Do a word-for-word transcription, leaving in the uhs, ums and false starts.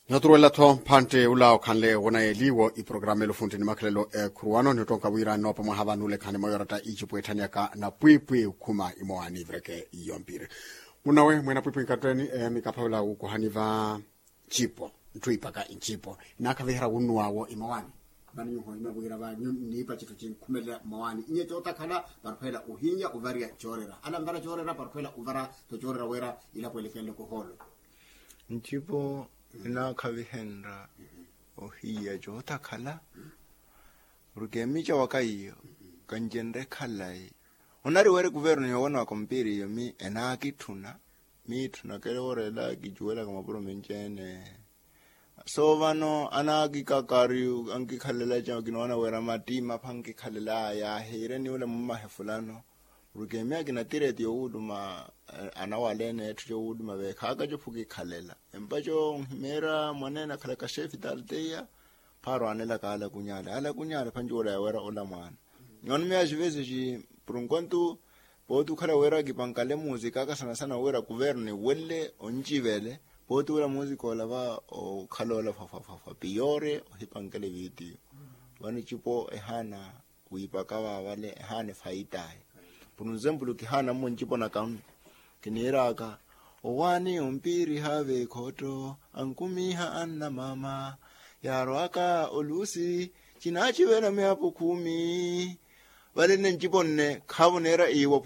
Nooturuwela-tho mphantte ula okhanle wonayeliwo iporokaramu elufuntti ni makhalelo ekhuruwano ni ottonka wira nnoopa mwaha vano olekhani mwa yoratta icipu etthaniyaka na pwiipwii okhuma imowaani ivireke. Iyo mpiri munawe mwena pwiipwii nkatteeni. Mikaphavela wukuhani va ncipo ntthu ipaka incipo inaakhavihera wunnuwaawo imowaani. Vano nyuho ino wira va nniipa citthu cinkhumelela mmowaani inye cootakhala. Parphweela ohinya ovariya coorera ala nvara coorera parphweela ovara tho coorera wira ilapo elekenle kohoolo. Ncipo inaakhavihenrya ohiya cootakhala. Porke miica waka iyo kancenrye khalayi. Onari wira ekuvernu yoowanwaka ompiri iyo mi enaakitthuna miitthunakele woorela kicuwelaka mapuro menci-ene. So vano anaakikakari ankikhalela ca kinoona wira mattiima apha nkikhalelaya ahiire ni ula mummahe fulano. Porke miyo akina tireti yowuuluma anawaleene etthu cowuuluma veekhaaka cophu kikhalela empaco nhimeera mwaneene akhalaka xeefi talteya. Phaaro aanelaka alakunyale alakunyale phancuwela yawera ola mwaana. Nyono miyo axivesi xi purunkontu pooti okhala wira kipankale musikaka sana sana wira kuvernu iwelle oncivele pooti wira musika ola va okhala ola fwafwafwafwa piyore ohipankele vitiyo. Vano icipo ehaana wiipaka vaavale ehaana efaitaye. Purunzempulu kihaana mmo ncipo naka kiniiraka owaani ompiiriha veekhotto ankumiiha anna maama yaarwaka oluusi cinaacivela miyapo khumi. Vale nne ncipo nne khaavo neera iiwo.